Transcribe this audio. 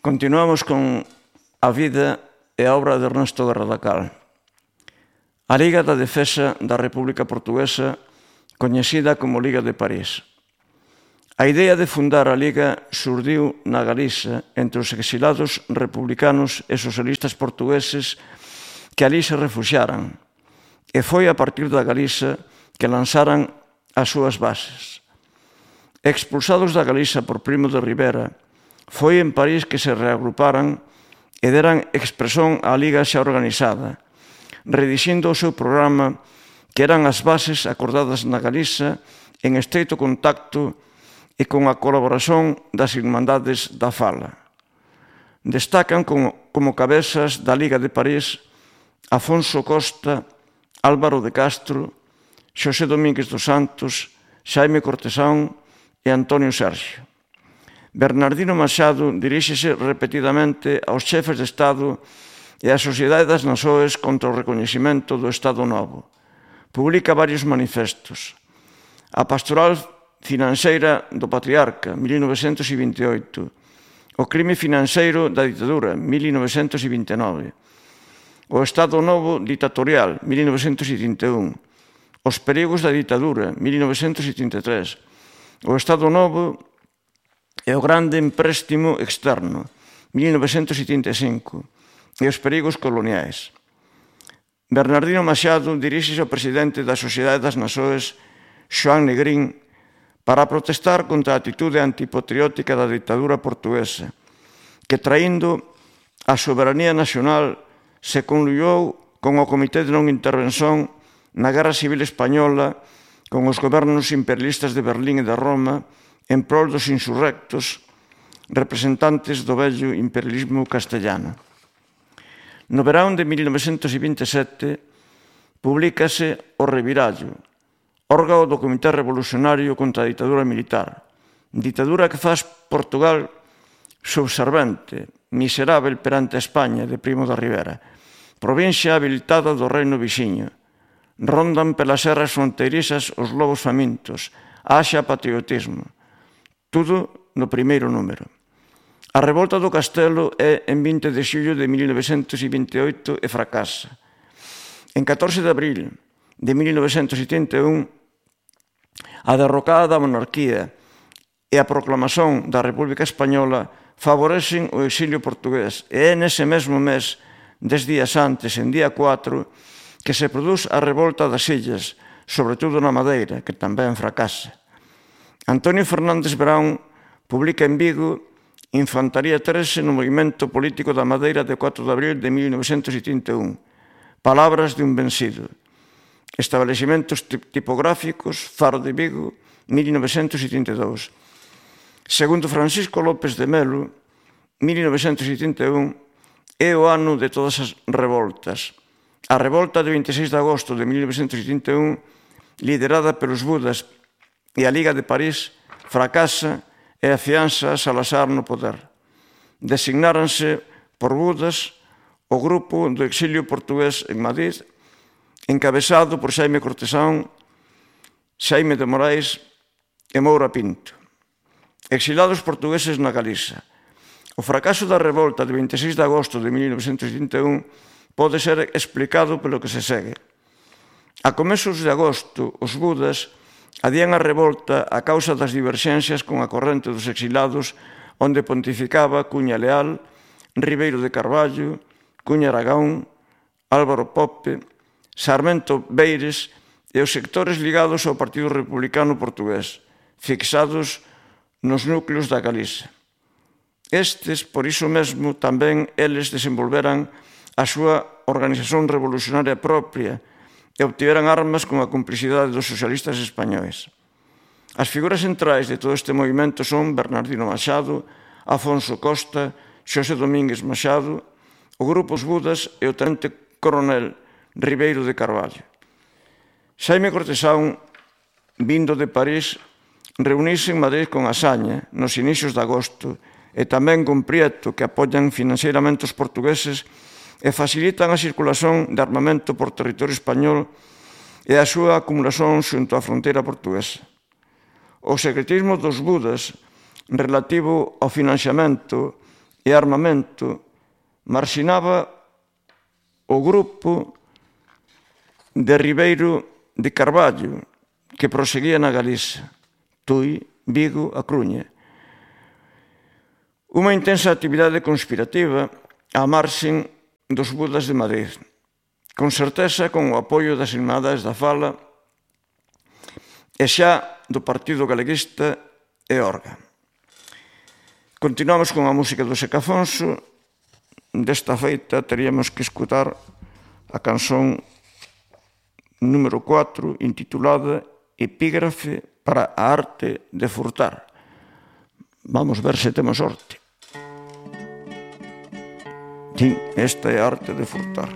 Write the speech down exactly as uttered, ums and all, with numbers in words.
Continuamos con a vida e a obra de Ernesto Guerra da Cal. A Liga da Defensa da República Portuguesa, coñecida como Liga de París. A idea de fundar a Liga surdiu na Galiza entre os exilados republicanos e socialistas portugueses que alí se refuxiaran, e foi a partir da Galiza que lanzaran as súas bases. Expulsados da Galiza por Primo de Rivera, foi en París que se reagruparan e deran expresión á Liga xa organizada, redixindo o seu programa que eran as bases acordadas na Galiza en estreito contacto e con a colaboración das Irmandades da Fala. Destacan como, como cabezas da Liga de París Afonso Costa, Álvaro de Castro, Xosé Domínguez dos Santos, Xaime Cortesán e Antonio Sergio. Bernardino Machado diríxese repetidamente aos chefes de Estado e á Sociedade das Nações contra o recoñecemento do Estado Novo. Publica varios manifestos. A Pastoral Financeira do Patriarca, mil novecentos vinte e oito. O crime financeiro da ditadura, mil novecentos vinte e nove. O Estado Novo ditatorial, mil novecentos trinta e un. Os perigos da ditadura, mil novecentos trinta e tres. O Estado Novo e o grande empréstimo externo, mil novecentos setenta e cinco, e os perigos coloniais. Bernardino Machado diríxese ao presidente da Sociedade das Nações, Xoán Negrín, para protestar contra a atitude antipatriótica da ditadura portuguesa, que traindo a soberanía nacional se conluiu con o Comité de Non Intervención na Guerra Civil Española con os gobernos imperialistas de Berlín e de Roma en prol dos insurrectos representantes do vello imperialismo castellano. No verán de mil novecentos vinte e sete publícase O Revirallo, órgano do Comité Revolucionario contra a ditadura militar, ditadura que faz Portugal subservente, miserável perante a España de Primo de Rivera, provincia habilitada do reino vixiño. Rondan pelas serras fronteirizas os lobos famintos, haxa patriotismo. Tudo no primeiro número. A revolta do Castelo é en vinte de xullo de mil novecentos vinte e oito e fracasa. En catorce de abril de mil novecentos setenta e un, a derrocada da monarquía e a proclamación da República Española favorecen o exilio portugués e é nese mesmo mes, dez días antes, en día cuatro, que se produz a revolta das illas, sobre todo na Madeira, que tamén fracasa. Antonio Fernández Brown publica en Vigo Infantaría trece no movimento político da Madeira de cuatro de abril de mil novecentos setenta e un. Palabras de un vencido. Establecimentos tipográficos, Faro de Vigo, mil novecentos setenta e dous. Segundo Francisco López de Melo, mil novecentos setenta e un é o ano de todas as revoltas. A revolta de vinte e seis de agosto de mil novecentos setenta e un, liderada pelos Budas e a Liga de París, fracasa e afianza a Salazar no poder. Designáranse por Budas o grupo do exilio portugués en Madrid, encabezado por Xaime Cortesán, Xaime de Morais e Moura Pinto. Exilados portugueses na Galiza. O fracaso da revolta de vinte e seis de agosto de mil novecentos setenta e un pode ser explicado pelo que se segue. A comezos de agosto, os Budas adían a revolta a causa das diverxencias con a corrente dos exilados onde pontificaba Cuña Leal, Ribeiro de Carballo, Cuña Aragón, Álvaro Pope, Sarmento Beires e os sectores ligados ao Partido Republicano Portugués, fixados nos núcleos da Galiza. Estes, por iso mesmo, tamén eles desenvolveran a súa organización revolucionaria propia e obtiveran armas con a complicidade dos socialistas españois. As figuras centrais de todo este movimento son Bernardino Machado, Afonso Costa, Xosé Domínguez Machado, o grupo Os Budas e o tenente coronel Ribeiro de Carballo. Xaime Cortesán, vindo de París, reuniuse en Madrid con Asaña nos inicios de agosto e tamén con Prieto, que apoian financeiramente os portugueses e facilitan a circulación de armamento por territorio español e a súa acumulación xunto á fronteira portuguesa. O secretismo dos Budas relativo ao financiamento e armamento marxinaba o grupo de Ribeiro de Carballo, que proseguía na Galiza, Tui, Vigo, A Coruña. Unha intensa actividade conspirativa á marxen dos budas de Madrid, con certeza con o apoio das Irmandades da Fala e xa do Partido Galeguista e Orga. Continuamos con a música do Seca Afonso. Desta feita teríamos que escutar a canción número cuatro, intitulada Epígrafe para a arte de furtar. Vamos ver se temos sorte. Sí, esta é a arte de furtar.